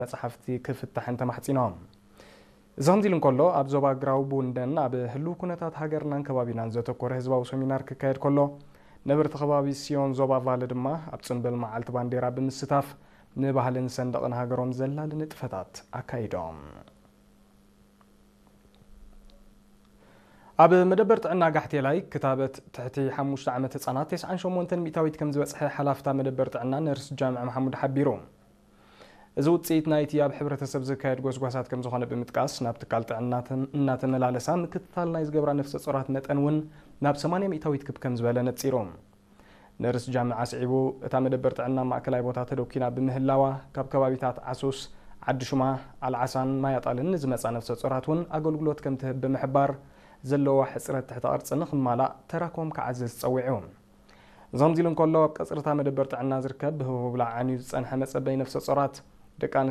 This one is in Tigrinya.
መጽሓፍቲ ክፍታሕን ተማሕጺኖም። እዚ ከምዚ ኢሉ እንከሎ፣ ኣብ ዞባ ግራውቡንደን ኣብ ህልው ኩነታት ሃገርናን ከባቢናን ዘተኮረ ህዝባዊ ሰሚናር ክካየድ ከሎ፣ ነበርቲ ከባቢ ሲዮን ዞባ ቫለ ድማ ኣብ ጽንብል መዓልቲ ባንዴራ ብምስታፍ ንባህልን ሰንደቕን ሃገሮም ዘላሊ ንጥፈታት ኣካይዶም። ኣብ መደበር ጥዕና ጋሕቴላይ ክታበት ትሕቲ ሓሙሽተ ዓመት ህጻናት ተስዓን ሸሞንተን ሚእታዊት ከም ዝበጽሐ ሓላፍታ መደበር ጥዕና ነርስ ጃምዕ መሓሙድ ሓቢሩ። እዚ ውጽኢት ናይቲ ኣብ ሕብረተሰብ ዝካየድ ጎስጓሳት ከም ዝኾነ ብምጥቃስ፣ ናብ ትካል ጥዕና እናተመላለሳ ምክትታል ናይ ዝገብራ ነፍሰ ጾራት መጠን እውን ናብ ሰማንያ ሚእታዊት ክብ ከም ዝበለ ነጺሩ። ነርስ ጃምዕ ኣስዒቡ፣ እታ መደበር ጥዕና ማእከላይ ቦታ ተደኪና ብምህላዋ፣ ካብ ከባቢታት ዓሱስ፣ ዓዲ ሹማ፣ ኣልዓሳን ማያጣልን ንዝመጻ ነፍሰ ጾራት እውን ኣገልግሎት ከም ትህብ ብምሕባር፣ ዘለዋ ሕጽረት ትሕተ ቅርጺ ንኽማላእ ተራኮም ክዓዝዝ ጸዊዑ። እዚ ከምዚ ኢሉ እንከሎ፣ ኣብ ቀጽርታ መደበር ጥዕና ዝርከብ ብህቡብላ ዓንዩ ዝጸንሐ መጸበይ ነፍሰ ጾራት ደቂ